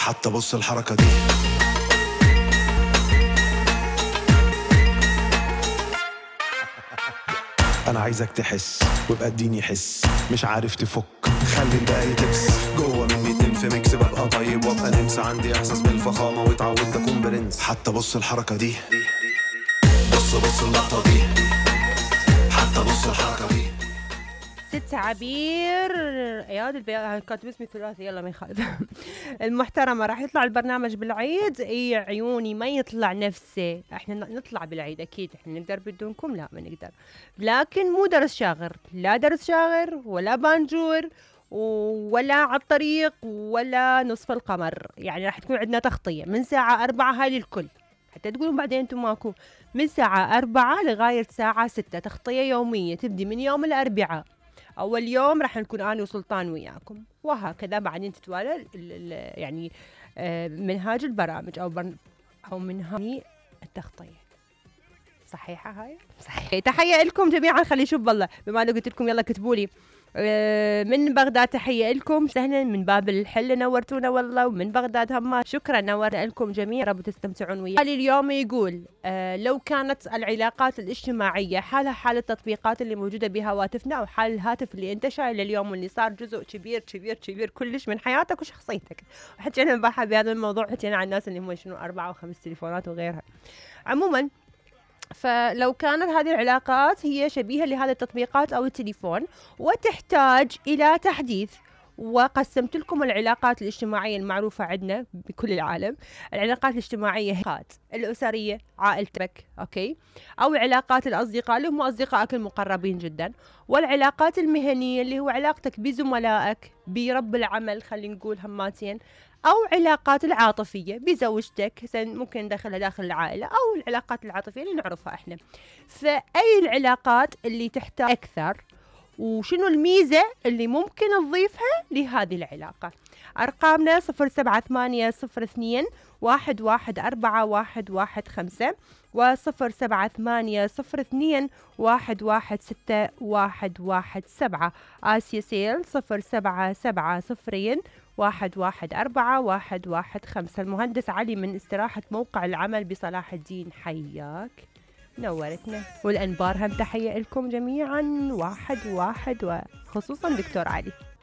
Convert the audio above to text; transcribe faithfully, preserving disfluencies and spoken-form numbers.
حتى بص الحركة دي. انا عايزك تحس وابقى اديني حس، مش عارف تفك خلي الباقي تبس. جوه مني تنف ميكس، ببقى طيب وابقى نمس، عندي احساس بالفخامة واتعودت اكون برنس. حتى بص الحركة دي، بص بص اللقطة دي، حتى بص الحركة دي. ست عبير اياد البياض كاتب اسمي ثلاثي، يلا ما يخالف. المحترمه راح يطلع البرنامج بالعيد. اي عيوني ما يطلع نفسه، احنا نطلع بالعيد اكيد، احنا نقدر بدونكم؟ لا ما نقدر، لكن مو درس شاغر، لا درس شاغر ولا بانجور ولا على الطريق ولا نصف القمر. يعني راح تكون عندنا تغطيه من ساعه أربعة، هاي للكل حتى تقولون بعدين انتم ماكو. من ساعه أربعة لغايه ساعه ستة تغطيه يوميه تبدي من يوم الاربعاء. أول يوم راح نكون أنا وسلطان وياكم، وهكذا بعدين تتوالى ال ال يعني آه منهاج البرامج أو برن أو منهاج التغطية. صحيحة هاي؟ صحيح. تحية لكم جميعا. خلي شوف والله بما أنه قلت لكم يلا كتبوا لي آه من بغداد. تحية لكم سهلا من باب الحل، نورتونا والله. ومن بغداد هم شكرا، نور لكم جميعا، رب تستمتعون وياي. اليوم يقول آه لو كانت العلاقات الاجتماعية حالها حال التطبيقات اللي موجودة بهواتفنا أو حال الهاتف اللي انت شايله اليوم واللي صار جزء كبير كبير كبير كلش من حياتك وشخصيتك. وحكينا امبارح بهذا الموضوع، حكينا عن الناس اللي هم شنو أربعة وخمس تليفونات وغيرها. عموما فلو كانت هذه العلاقات هي شبيهة لهذه التطبيقات أو التليفون وتحتاج إلى تحديث، وقسمت لكم العلاقات الاجتماعية المعروفة عندنا بكل العالم. العلاقات الاجتماعية هي الأسرية، عائلتك، أوكي، أو علاقات الأصدقاء اللي هم أصدقائك المقربين جدا، والعلاقات المهنية اللي هو علاقتك بزملائك، برب العمل خلينا نقول هماتين، أو علاقات العاطفية بزوجتك، ممكن ندخلها داخل العائلة، أو العلاقات العاطفية اللي نعرفها إحنا. فأي العلاقات اللي تحتاج أكثر، وشنو الميزة اللي ممكن نضيفها لهذه العلاقة؟ أرقامنا صفر سبعة ثمانية صفر اثنين واحد واحد أربعة واحد واحد خمسة وصفر سبعة ثمانية صفر اثنين واحد واحد ستة واحد واحد سبعة. آسيا سيل صفر سبعة سبعة صفرين واحد واحد أربعة واحد واحد خمسة. المهندس علي من استراحة موقع العمل بصلاح الدين، حياك، نورتنا. والأنبار هم تحية لكم جميعا، واحد واحد وخصوصا دكتور علي.